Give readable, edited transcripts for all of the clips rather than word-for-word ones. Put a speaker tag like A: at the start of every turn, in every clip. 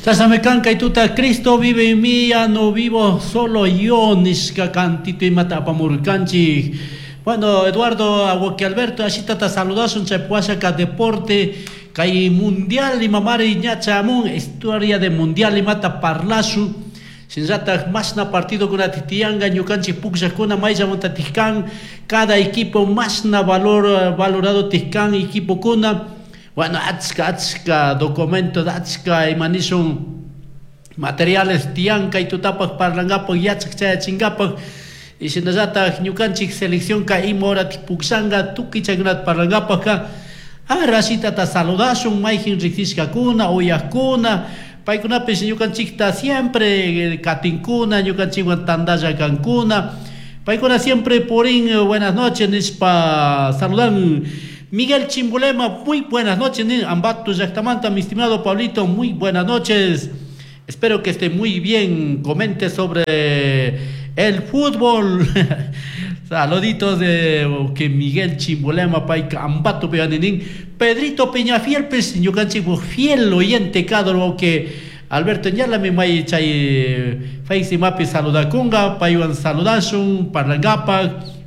A: Chashnami kan kay tuta Cristo vive en mí, ya no vivo solo yo nishka cantito imata apamurkanchik. Bueno, Eduardo Aguaque Alberto, ashitata saludashun chay puashaka deporte kay mundial imamari ña chayamun historia de mundial imata parlashun. Shinallatak mashna partidokunata tiyanka ñukanchik pukllakuna mayllamantatik kan cada equipo mashna valor valorado kan equipokuna. Bueno, achka achka documento achka ima nishun materiales tiyan kay tutapak parlankapak yachak chayachinkapak y shinallatak ñukanchik seleccionka ima horatik pukllanka tukuy chaykunata parlankapakka arashitata saludashun mayjin riksishkakuna uyakuna paykunapish ñukanchikta siempre katinkuna ñukanchikwan tantalla kankuna paykuna siempre purin buenas noches nishpa saludan. Miguel Chimbolema, muy buenas noches, Ambato llaktamanta, mi estimado Pablito, muy buenas noches. Espero que esté muy bien. Comente sobre el fútbol. Saluditos de que Miguel Chimbolema, payka Ambato peganinin. Pedrito Peñafiel, pues, ñukanchik fiel oyente kadro que Alberto ñalami may chay Face mapi saludakunga, paywan saludashun, parlangapak.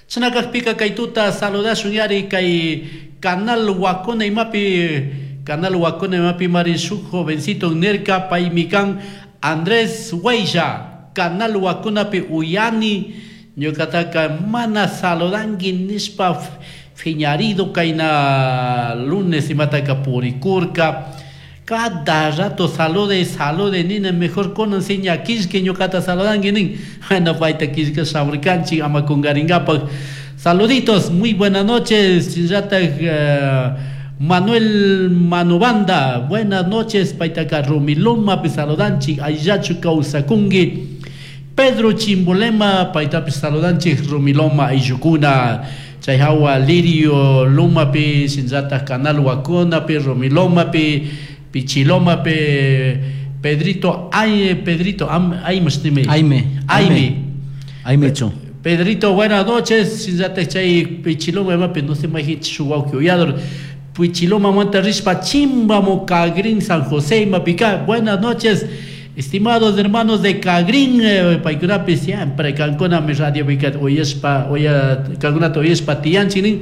A: Chinakakpika kay tuta saludashun yari kay Canal Huacona imapi Canal Huacona imapi mari shuk jovencito nirka paymi kan Andrés Huaylla Canal Huaconapi uyani ñukataka mana saludanki nishpa fiñarido kayna lunes imataka purikurka. Cada rato salude, salude, nina mejor con enseña kishke ñukata saludanki nin. Bueno, payta kishka shamurkanchik ama kungarinkapak. Saluditos, muy buenas noches. Shinllatak Manuel Manubanda, buenas noches, paytaka Rumilomapi saludanchik, ayllachu kawsakunki. Pedro Chimbolema, paytapish saludanchik Rumiloma ayllukuna. Chay hawa Lirio Lumapi, shinllatak Canal Huaconapi, Rumilomapi, Pichilomapi, Pedrito, ay, Pedrito, Aime,
B: Aime.
A: Aime.
B: Aime chu.
A: Pedrito, buenas noches. Shinllatak chay Pichiloma imapi, no sé mayjin shuk wawki uyador. Pichiloma manta rishpa Chimbamo Cagrín San José imapika. Buenas noches, estimados hermanos de Cagrín, paykunapi siempre kankuna mi radio pika uyashpa, uya kankunata uyashpa tiyanchik nin.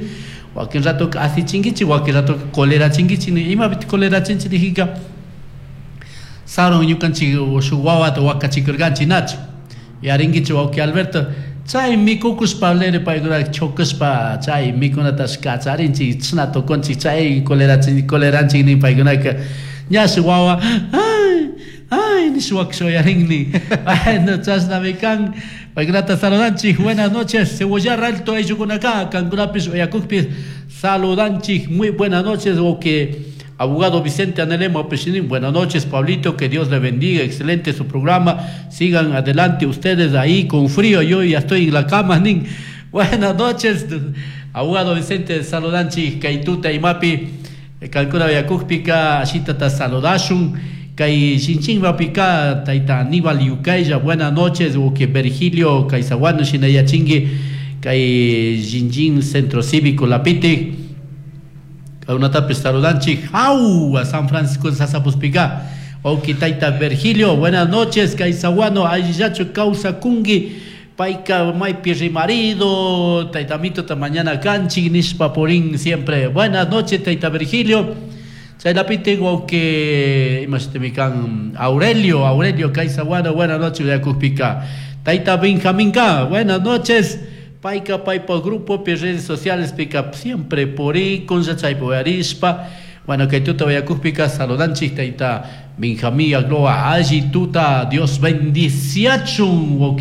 A: Wakin rato asichinkichik, wakin rato colerachinkichik nin. Imapiti colerachinchik nijika sarun ñukanchik shuk wawata wakachikurkanchik nachu. Yarinkichik wawki Alberto, chay mikukushpa lere paykuna chokushpa chay mikunatash kacharinchik chashna tukunchik chay colerachin coleranchik nin paykunaka ñashi wawa ay ay nish wakasha uyarin. Bueno, chashnami kan paykunata saludanchik. Buenas noches, Cebollar Alto ayllukunaka kankunapish uyakukpish saludanchik. Muy buenas noches, o que abogado Vicente Anelemo Pechinin, buenas noches, Pablito, que Dios le bendiga, excelente su programa, sigan adelante ustedes ahí con frío, yo ya estoy en la cama, nin. Buenas noches, abogado Vicente, saludanchik, kay tuta imapi, kankuna uyakukpika, ashitata saludashun, kay Shinchinmapika, tayta Aníbal Yucaya, buenas noches, o que Virgilio Caizaguano, Shinayachingue, kay Xinxin Centro Cívico Lapite, Kaunatapi saludanchik, jau, a San Francisco Sasapuspica, Oki tayta Virgilio, buenas noches, Caizaguano, allillachu kawsakunki, payka maypi rimarido, taytamito ta mañana kanchik, nishpa purin siempre. Buenas noches, tayta Virgilio. Chaylapiti wawki imashitimi kan Aurelio, Aurelio Caizaguano, buenas noches, uyakukpika. Tayta Benjaminka, buenas noches. Payka paypa grupo pi redes sociales pika siempre purikun chaypi uyarishpa. Bueno, kay tuta uyakukpika saludanchik tayta Benjamín Agloa, alli tuta, Dios bendiciachun,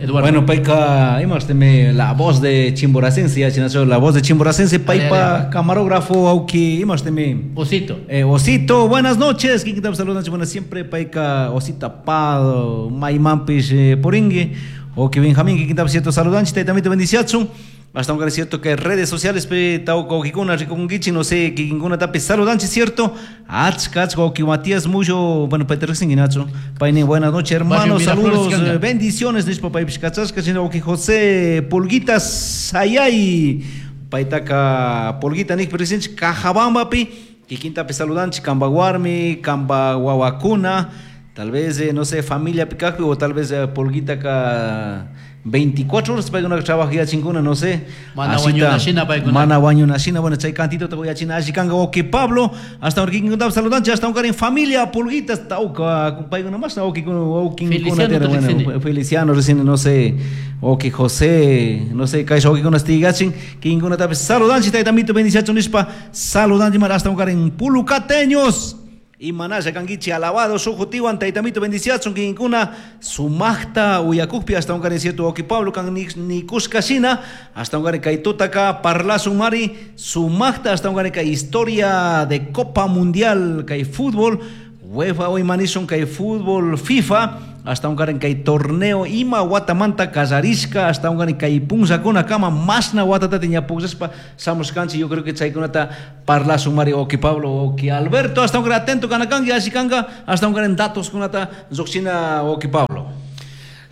A: Eduardo.
B: Bueno, payka, imashitimi la voz de Chimboracense, ya chinacho, la voz de Chimboracense, paypa camarógrafo, auki, imashitimi.
A: Osito.
B: Osito, buenas noches, ¿quién te saludanchik? Bueno, siempre payka, Osita Pado, Maimampish, puringi. O que Benjamín, que quinta cierto saludanchi, también te bendiciachun. Hasta un cierto que redes sociales, pe, tau, kikuna, rikungichi, no sé, kikuna tapi saludanchi, cierto. Ach, ach, que Matías mucho, bueno, Peter Singinacho. Paine, buenas noches, hermanos, saludos, bendiciones, nishpa pay pishkachashka, sino que José Pulguitas, ayay, paytaka, Pulguita, nik, presidente, Cajabambapi. Kikintapi saludanchik kamba warmi, kamba wawakuna, tal vez no sé, familia pikakpi o tal vez pulguitaka 24 horas paykuna trabajachinkuna, no sé.
A: Mana wañunashina paykuna.
B: Mana wañunashina, bueno, chay cantito te voy a china alli kanka wawki Pablo, hasta ahora kikinkunatapi saludanchik, hasta ahora en familia pulguitas tawka paykuna más wawkikuna wawkinkuna
A: Feliciano
B: bueno,
A: recién.
B: Feliciano recién, no sé, wawki José, no sé, kay wawkikuna tigachin, kikinkunatapi saludanchik, taytamito bendiciachun nishpa saludanchik mara hasta ahora en pulucateños. Y manasha kankichi alabado sujutiwan taytamito bendiciachun kinkuna sumaqta uyakukpi hasta un cierto wawki Pablo kan nikushka shina hasta un kay tutaka parlasun mari sumaqta hasta un kay historia de Copa Mundial kay fútbol UEFA hoy manishun kay fútbol FIFA hasta un kay torneo ima watamanta kallarishka hasta un kay punllakuna kama masna watata ñapukllashpa shamushkanchik. Yo creo que chaykunata parlasun mari wawki Pablo wawki Alberto hasta un atento kanakanki alli kanka hasta un datos kunata lluqshina wawki Pablo.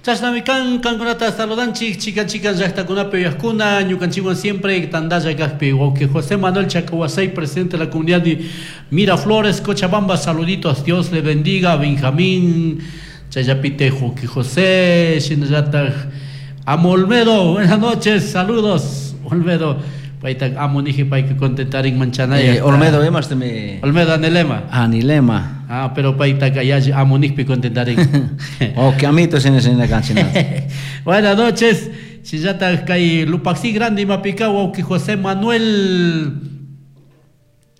A: Chashnami kan kankunata saludanchik chikan chikan llaqtakunapi uyaqkuna ñukanchikwan siempre tandalla kaqpi wawqi José Manuel Chacahuasay, presidente de la comunidad de Miraflores, Cochabamba, saluditos, Dios le bendiga, Benjamín Chayapite, wawqi José, shinallataq Amo Olmedo, buenas noches, saludos, Olmedo, payta amo niji payka contentarin manchanaya.
B: Olmedo, me
A: Olmedo anilema.
B: Anilema.
A: Ah, pero payta ya amo nijpi contentarin.
B: Ok, amito sin la canchina.
A: Buenas noches. Shinallataq kay Lupaxi grande imapika wawqi José Manuel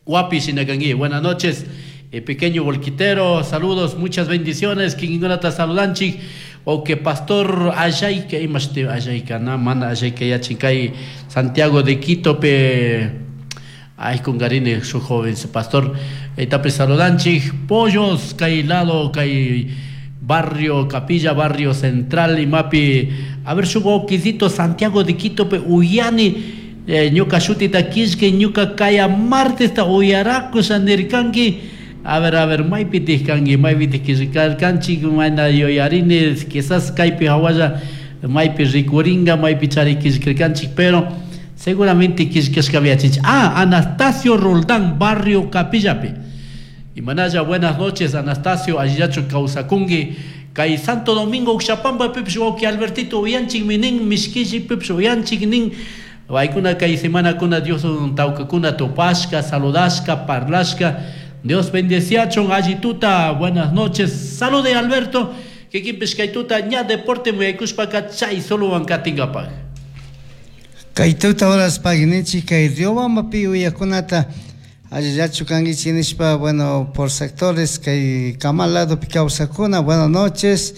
A: Guapi shinakanki. Buenas noches. Pequeño volquitero, saludos, muchas bendiciones. Kikinkunata saludanchik. O que pastor Ayayka, imashti Ayayka, na mana Ayayka yachin kay Santiago de Quito pe ay con garine su joven pastor etape saludanchik pollos kay lado kay barrio Capilla barrio Central imapi a ver su wawqisito Santiago de Quito pe uyani ñuka shutita kishke ñuka kaya martes ta uyarakusha nirkanki. A ver, maypitik kanki, maypitik kishkarkanchik, mana yuyarini, quizás kaypi hawalla maypi rikuringa, maypi chari kishkarkanchik, pero seguramente kishkashka yachinchik. Ah, Anastasio Roldán, barrio Capillapi. Y manaya, buenas noches, Anastasio, allillachu kawsakunki. Kay Santo Domingo, Uxapampa, pipish wawqi Albertito, uyanchik minin, mishkilli, pipish uyanchik nin. Paykuna kay semanakuna Dios tawkakuna tupashka, saludashka, parlashka. Dios bendeciachon, allituta, buenas noches. Salude Alberto, que kimpis kaytuta ña deporte muyaykushpaka chay solo wankatingapaj.
C: Kaytuta horas paginichi kay Riobambapi uyakunata allillachu kankichik nishpa, bueno, por sectores kay Camal lado kawsakuna, buenas noches.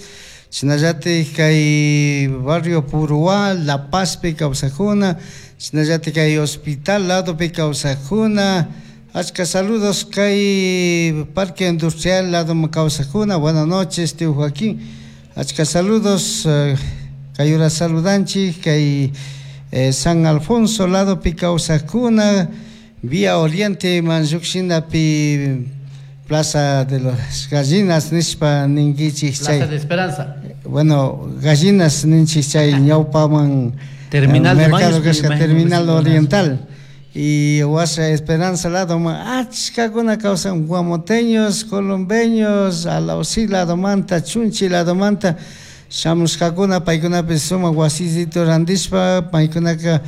C: Shinallatik kay barrio Puruá, La Paz pi kawsakuna, shinallatik kay hospital lado pi kawsakuna. Achka saludos kay Parque Industrial lado kawsakuna, buenas noches tío Joaquín. Achka saludos kay ura saludanchik kay San Alfonso lado pi kawsakuna, Vía Oriente manlluqshinapi Plaza de las Gallinas nishpa ninkichik
A: Plaza
C: chay.
A: de Esperanza.
C: Bueno, gallinas ninchik chay ñawpaman
B: Terminal de
C: mercado
B: Baños,
C: kasqa
B: me imagino
C: Terminal
B: que sí,
C: Oriental. Y Huasa Esperanza lado achkakuna kawsan guamoteños, colombeños, alausí lado manta, chunchi lado manta, shamushkakuna paykunapi sumak wasisito randishpa paykunaka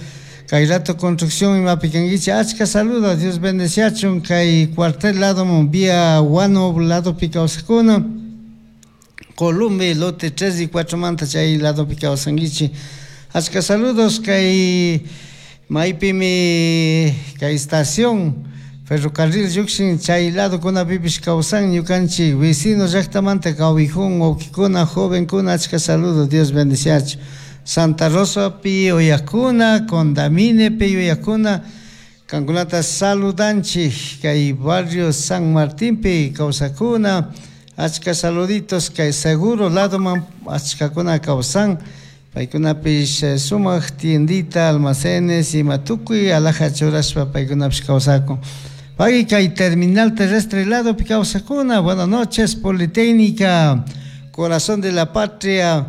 C: kay rato construcción imapi kankichik. Achka saludos, Dios bendeciachun kay cuartel lado vía Guano lado pi kawsakuna, Columbe lote 3 y 4 manta chay lado pi kawsankichik. Achka saludos kay maypimi kay estación ferrocarril llukshin chay lado kunapipish kawsan ñukanchik vecino llaktamanta kawijun wawkikuna jovenkuna, achka saludos, Dios bendeciachu. Santa Rosa pi uyakuna, Condamine pi uyakuna, kankunata saludanchik kay barrio San Martín pi kawsakuna, achka saluditos kay seguro lado man achkakuna kawsan, paykunapish sumak tiendita, almacenes ima tukuy alhaja churashpa paykunapish kawsakun. Pagui kay terminal terrestre lado pi kawsakuna, buenas noches, Politécnica, Corazón de la Patria.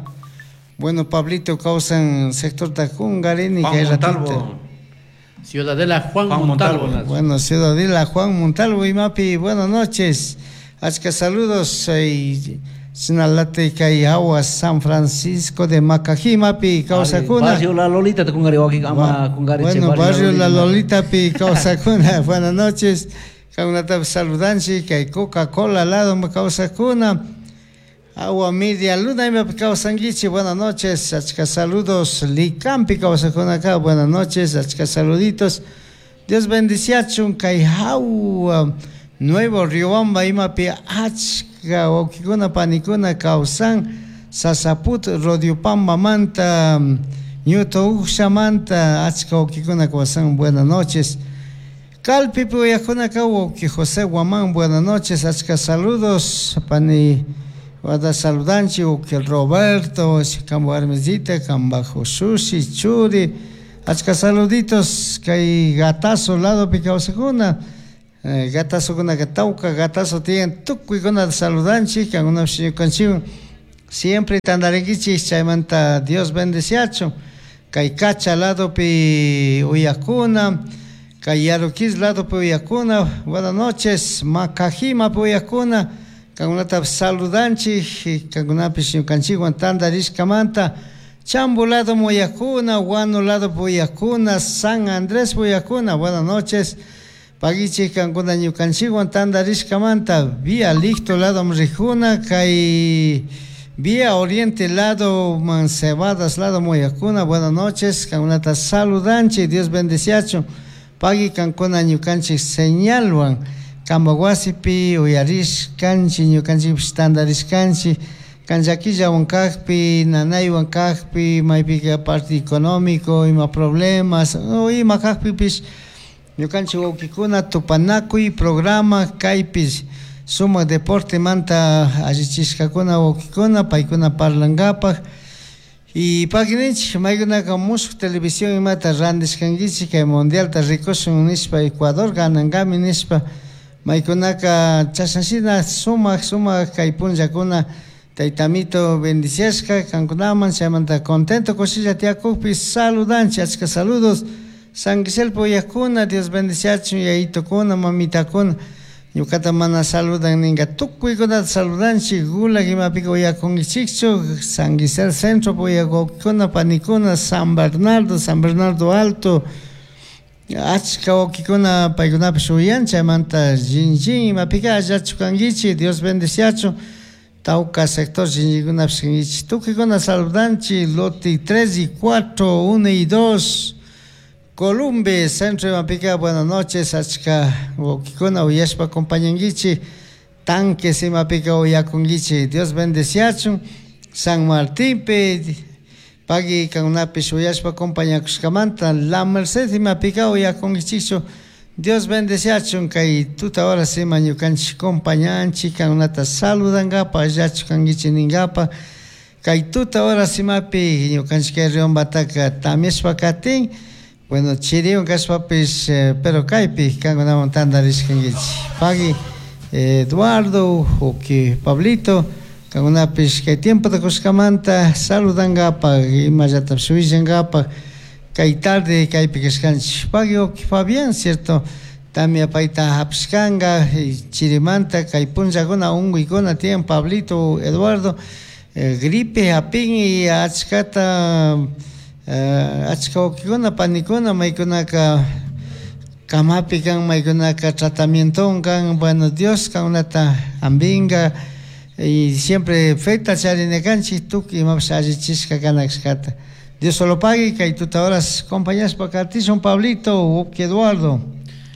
C: Bueno, Pablito kawsan sector Tacungarini,
B: Juan
C: kay ratito.
B: Montalvo.
A: Ciudadela Juan, Juan Montalvo.
C: Montalvo. Bueno, Ciudadela Juan Montalvo imapi, buenas noches. Achka saludos Sinalate kay hawa San Francisco de Macajimapi kawsakuna.
B: Barrio La Lolita te kungari waki ama kungari
C: Bueno, barrio La Lolita pi kawsakuna. Buenas noches. Kankunata saludanchik kay Coca-Cola lado kawsakuna. Agua media luna imapi kawsankichik. Buenas noches. Achka saludos. Licampi kawsakuna acá. Buenas noches. Achka saluditos. Dios bendiciachun kay hawa Nuevo Riobamba imapi achka wawkikuna panikuna kawsan Sasaput Rodiopambamanta Ñuto Ukshamanta achka wawkikuna kawsan. Buenas noches. Calpipi uyajkunaka wawki José Guamán, buenas noches, achka saludos pani wada saludanchik wawki Roberto, kamba warmisita, kamba Josushi, Churi, achka saluditos kay Gatazo ladopi kawsakuna. Gatazokunaka tawka gatazo tiyan tukuykuna saludanchik kankunapish ñukanchikwan siempre tantarinkichik chaymanta Dios bendeciachun kay Cacha ladopi uyakuna kay Yaruquis ladopi uyakuna. Buenas noches. Macajimapi uyakuna kankunatapish saludanchik kankunapish ñukanchikwan tantarishkamanta. Chambo lado uyakuna, Guano lado uyakuna, San Andrés uyakuna. Buenas noches. Pagichik kankuna ñukanchikwan tantarishkamanta. Vía Licto lado rijuna kay Vía Oriente lado Mancebadas lado uyakuna. Buenas noches. Kankunata saludanchik. Dios bendeciachun. Pagui kankuna ñukanchik señalwan kamba wasipi uyarishkanchik ñukanchikpish tantarishkanchik kanllakillawan kakpi nanaywan kakpi maypika parte económico ima problemas o ima kakpipish ñukanchik wawkikuna tupanakuy programa kaypish sumak deportemanta allichishkakuna wawkikuna paykuna parlankapak. Y pakininchik maykunaka mushuk televisión imata randishkankichik kay mundialta rikushun nishpa Ecuador ganankami nishpa maykunaka chashnashina sumak sumak kay punllakuna taytamito bendiciashka kankunaman chaymanta contento kushilla tiyakukpi saludanchik achka saludos. San Guiselpo uyakuna Dios bendiciachun yayitukuna mamitakuna ñukata mana saludan ninka tukuykunata saludanchik gulag imapika uyakunkichikchu San Guisel Centro uyakukuna panikuna San Bernardo, San Bernardo Alto achka wawkikuna paykunapish uyan chaymanta shinlli imapika allachu kankichik Dios bendiciachun tawka sector shinllikunapish kankichik tukuykuna saludanchik lote 3 y 4, 1 y 2 Columbe, Centro imapika, buenas noches, achka wawkikuna uyashpa acompañankichik tanques imapika uyakunkichik Dios bendeciachun San Martinpi pagui kankunapish uyashpa acompañakushkamanta La Merced imapika uyakunkichikchu Dios bendeciachun kay tuta horas ima ñukanchik compañanchik kankunata saludankapa allachu kankichik ninkapa kay tuta horas imapi ñukanchik kay Riobambataka tamyashpa katin. Bueno, chiriwan kashpapish pero kaypi kankunawan tantarishkankichik pagui Eduardo uki Pablito kankunapish kay tiempota kushkamanta saludankapak imallatapish willankapak kay tarde kaypi kashkanchik pagui uki Fabián, cierto, tamia payta hapishkanka chirimanta kay punllakuna unkuykuna tiyan Pablito Eduardo gripe hapin y achkata achka wawkikuna panikuna maykunaka kamapi kan maykunaka tratamientowan kan. Bueno, Dios kankunata hampinka y siempre feta charina kanchik tukuy imapish allichishka kana kashkata. Dios solo pague kay tuta horas compañashpa katishun Pablito wawki Eduardo.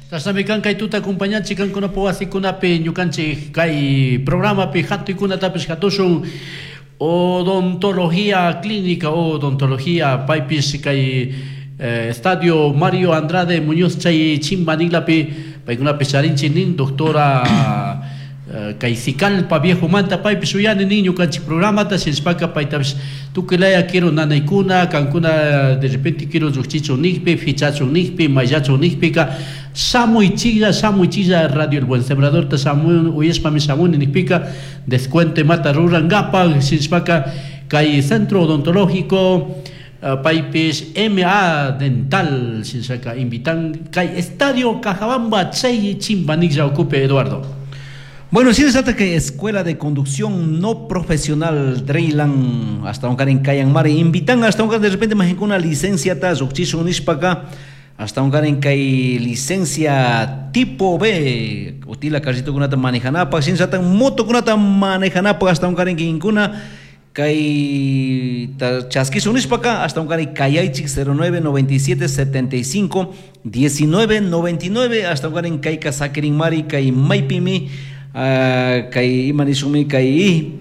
A: Chashnami kan kay tuta acompañanchik kankunapa wasikunapi ñukanchik kay programapi hatuykunatapish hatushun odontología clínica, odontología paypish kay Estadio Mario Andrade Muñoz chay Chimbanilapi paykunapish charinchik nin doctora kay Sicalpa viejo manta paypish uyani nin ñukanchik programata shinashpaka paytapish tukuylaya quiero nanaykuna kankuna de repente quiero lluqchichun nikpi fichachun nikpi mayllachun nikpika shamuychilla shamuychilla Radio El Buen Sembrador ta shamun uyashpami shamuni nikpika descuento imata rurankapak shinashpaka kay Centro Odontológico Paypish MA Dental shinshaka invitan kay Estadio Cajabamba chay chimbaniklla ukupi, Eduardo.
B: Bueno, sí, se que Escuela de Conducción No Profesional Dreylan hasta un en Kayanmari invitan hasta un de repente más una licencia ta nishpaka hasta un en kay licencia tipo B utila carrito kunata manejanapa sin moto kunata manejanapa hasta un en kinkuna kay chaskisun nishpaka hasta un kayaychik 09 97 75 19 99 hasta un en kay kasakirin mari kay maypimi kay ima nishunmi kay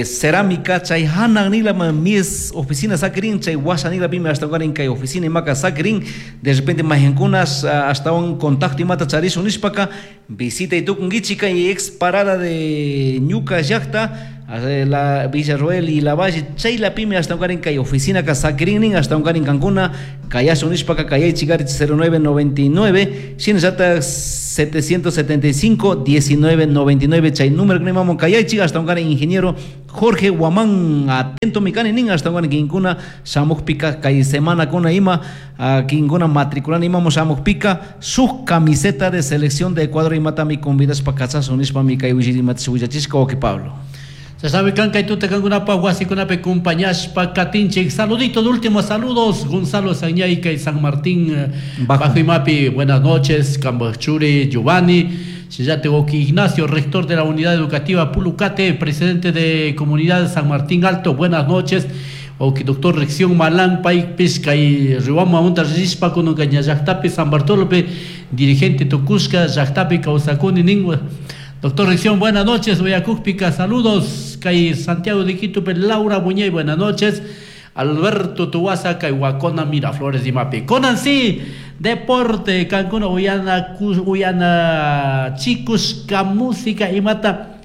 B: cerámica chay hanan nila mis oficina sakirin chay washa nila pimi hasta un kay oficina imaka sakirin de repente mayankunas hasta un contacto imata charishun nishpaka visita itukunkichik kay ex parada de Ñuka llakta la Villarroel y la Valle chay la pimi hasta un kay oficina ka sakirin hasta un kankuna kayashun nishpaka kayaychik 09 99 shinallata 775 19 99 chay número que nemamo kayaychik hasta un ingeniero Jorge Guamán atento mikani nin hasta un kinkuna shamukpika kay semana kuna ima kinkuna matriculani imamo shamukpika su camiseta de selección de Ecuador imata mi convidas pa kachasun nishpa mi kay willachishka wawki Pablo.
A: Se sabe kan kay tuta kankunapa wasikunapi compañashpa katinchik. Saludito de últimos saludos Gonzalo Sañayca y San Martín Bajo Imapi, buenas noches, Cambachuri Giovanni, Sillate Oki Ignacio, rector de la unidad educativa Pulucate, presidente de comunidad San Martín Alto, buenas noches. Oki doctor Rección Malán, Pay Pisca y Riwama Monta Rispa con Llactapi San Bartolomé, dirigente Tucusca, Llactapi Causacuni Ningua. Doctor Rección, buenas noches, Uyacúpica, saludos. Kay Santiago de Quito, Laura Muñey, buenas noches. Alberto Tuaza, Kay Miraflores y Mapi. Conan sí, deporte, Cancún, Uyana, Uyana, chicos, música y mata.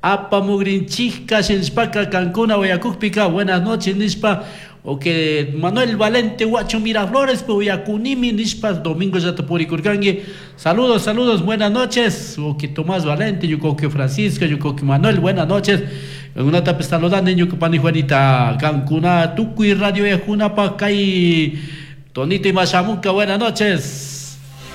A: Apamugrinchika, Shinspaka, Cancún, Uyacúpica, buenas noches, Nispa. O que Manuel Valente, Huacho Miraflores, Uyacunimi, Nispa, Domingo Yatapuricurcangui. Saludos, saludos, buenas noches. O que Tomás Valente, Yucoque Francisco, Yucoque Manuel, buenas noches. Una tapa saludando, Yucopani Juanita, Cancuna, Tucuy, Radio Yajunapa, Kai, Tonito y Machamuca, buenas noches.